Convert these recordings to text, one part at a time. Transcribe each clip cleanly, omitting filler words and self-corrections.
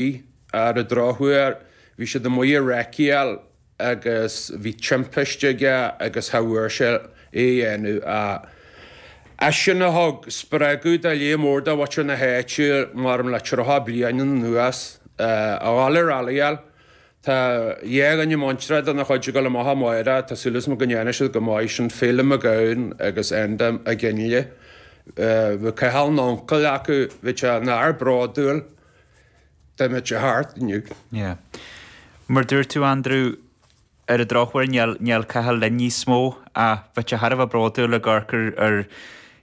Ar an drochuair, bhí siad amuigh ag recceáil agus bhí timpiste aige agus cha bhfuair sé é a dhéanamh. Eisean a thug spreagadh do lear mór de mhuintir na háite maram le 30 bliain anuas a dhul ag rallyáil. Tá dhá dhuine muinteartha de na chuid ag dul amach amáireach, tá súil agam go ndéanfaidh siad go maith, sin Féilim Mac Gabhann agus Enda McGinley. Bhí Cathal ina uncail acu, bhí sé ina fhear bródúil dá mbeadh sé thart inniu. Yeah. Mar dúirt tú Andrew, ar an drochuair níl, níl Cathal linn níos mó ach bheadh sé thar a bheith bródúil ag amharc ar, ar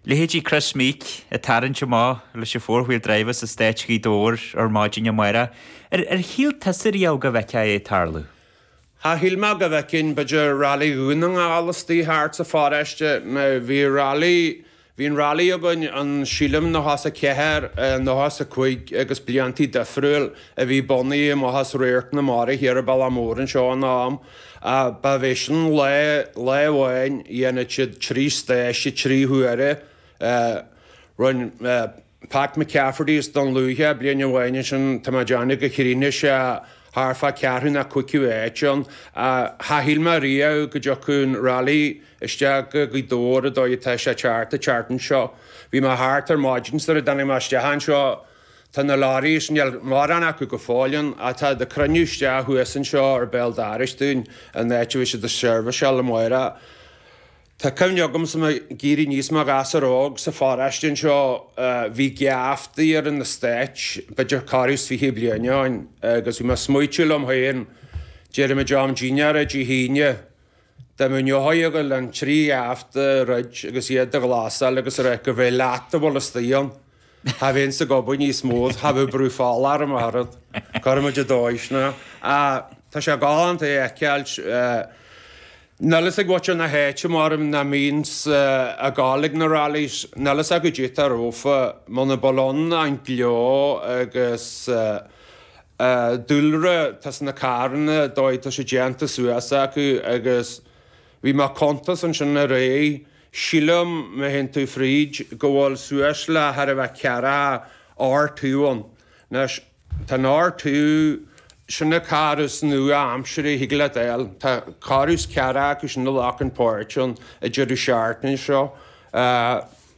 leithéidí Kris Meeke ag tarraingt amach leis an four wheel drive as Estáit Ghaoth Dobhair ar maidin amárach. Ar, ar shíl tusa riamh go bhfeicfeá é ag tarlú? Cha shíl mé go bhfeicfinn b'fhéidir Rally Dhún na nGall istigh thart sa pharóiste. Now bhí Rally Bhí an Rally againn ann sílim 94, 95 agus bliantaí difriúil a bhí bunaithe amach as Radharc na Mara thiar ar Bealach Mór anseo in am. Ba bhé sin lá, lá amháin dhéanadh siad trí stáiste trí huaire. Rinne Pat McCafferty as Dún Lúiche bliain amháin ansin, tá mé ag déanamh go chríochnaigh sé thart fá ceathrú nó cúigiú áit ann. Cha shíl mé riamh go dtiocfadh an Rally isteach go Gaoth Dobhair an dóigh atá sé thart an tseachtain seo. Bhí mé thart ar maidin sar a dtáinig mé isteach anseo. Tá na lorries, níl mórán acu go fóill ann, ach tá ag cruinniú isteach thuas anseo ar béal dorais dúinn, an áit a bhfuil siad ag seirbhiseáil amárach. Tá cuimhne agam is mé ag éirí aníos i mo ghasúr óg sa pharóiste anseo, bhí geaftaí ar an estáit, b'fhéidir corradh is 20 bliain ó shin, agus bhí mé ag smaoitiú liom féin, déarfaimid am dinnéara Dé hAoine, dá mbeadh an eochair ag dul an trí gheafta a dhruid agus iad a ghlasáil agus a rá gurbh é leat a bhfuil istigh ann. Cha bheinnse ag obair níos mó, cha bheadh brú fola orm ach oiread. Cuirfimid i dóigh sin é. Tá sé galánta é a fheiceáilt. Níl fhios ag muintir na háite maram nach mbíonns ag gabháil ag na rallies, níl fhios acu goidé atá rompu, muna bhfuil ann an gleo agus dúlra atá sna carranna, dóigh atá sé déanta suas acu agus bhí mé ag cuntas ansin aréir, sílim má théann tú fríd go bhfuil suas le thar a bheith ceathracha R2 ann. Anois. Tá an R2, sin an carr is nua-aimseartha a thig leat a fháil. Tá corradh is ceathracha acu sin a ghlacann páirt ann an deireadh seachtaine seo.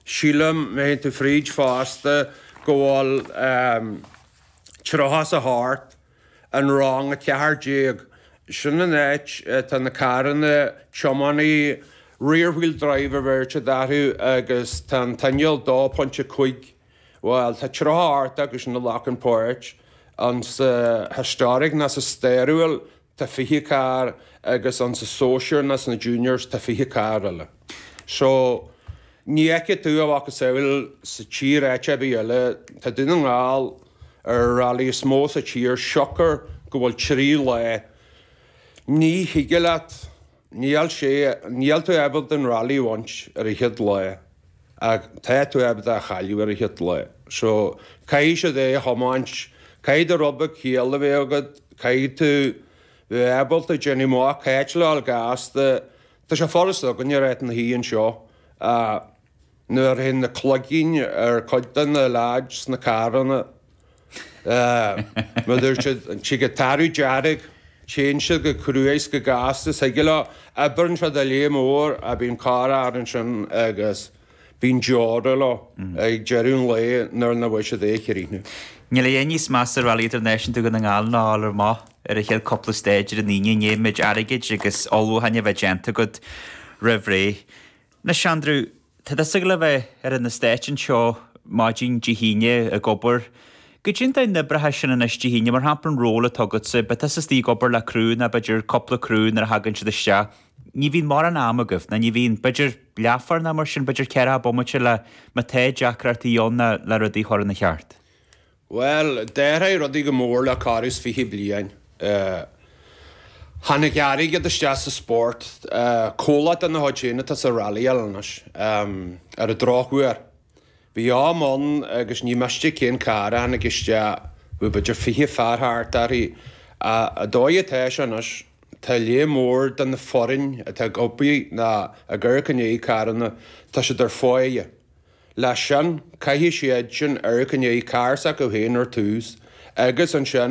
Sílim, má théann tú fríd fosta, go bhfuil 38 in rang 14. Sin an áit atá na carranna tiománaí rear wheel drive a bheir siad orthu agus tá an t-inneall 2.5 Bhuel, tá 38 acu sin a ghlacann páirt ann sa Historic ná sa Stairiúil tá 20 carr agus ann sa Sóisear ná sna Juniors tá 20 carr eile. So, ní fheicfidh tú a mhacasamhail sa tír áit ar bith eile. Tá Dún na nGall ar an rally is mó sa tír siocair go bhfuil trí lá. Ní thig leat Níl sé, níl tú ábalta an rally a bhaint ar an chéad lá ach tá tú ábalta a chailleadh ar an chéad lá. So, caithfidh siad é a thiomáint, caithfidh do rud beag ciall a bheith agat, caithfidh tú bheith ábalta déanamh amach cá háit le dhul gasta. Tá sé furasta againne ar Áth na hUí anseo ach nuair a théann na cloigín ar cuid de na leaids sna carranna, Mar dúirt siad, tig an t-athrú dearg, téann siad go cruaidh is go gasta is thig leo, oibreann siad a léith mór a bíonn corr-fhear ansin agus bíonn deora leo ag deireadh an lae nuair nach bhfuil siad é a chríochnú. Níl a dhath níos measa Rally Idirnáisiúnta Dhún na nGall ná a fháil amach ar an chéad cúpla stage ar an Aoine i ndiaidh an méid airgid agus ullmhúcháin a bheith déanta agat roimh ré. Anois Andrew, Tá tusa ag gabháil a bheith ar an estáit anseo maidin Dé hAoine ag obair. Goidé an dóigh a n-oibreoidh sin anois Dé hAoine, mar shampla an ról atá agatsa, beidh tusa istigh ag obair le criú nó b'fhéidir cúpla criú nuair a thagann siad isteach. Ní bhíonn mórán ama agaibh, nó ní bhíonn, b'fhéidir leathuair nó mar sin, b'fhéidir ceathracha bomaite le má tá deacrachtaí ann nó le rudaí a chur ina cheart. Bhuel, d'athraigh rudaí go mór le corradh is 20 bliain. Tháinig airgead isteach sa spórt. Comhlacht de na chuid féin atá sa rallyáil anois, ar an drochuair. Bhí am ann agus ní miste cén carr a tháinig isteach, bhí b'fhéidir 20 fear thart uirthi. An dóigh atá sé anois, tá lear mór de na foireann atá ag obair ná ag amharc i ndiaidh carranna, tá siad ar pháighe. Leis sin, caithfidh siad sin amharc i ndiaidh carr s'acu féin ar tús. Agus ansin.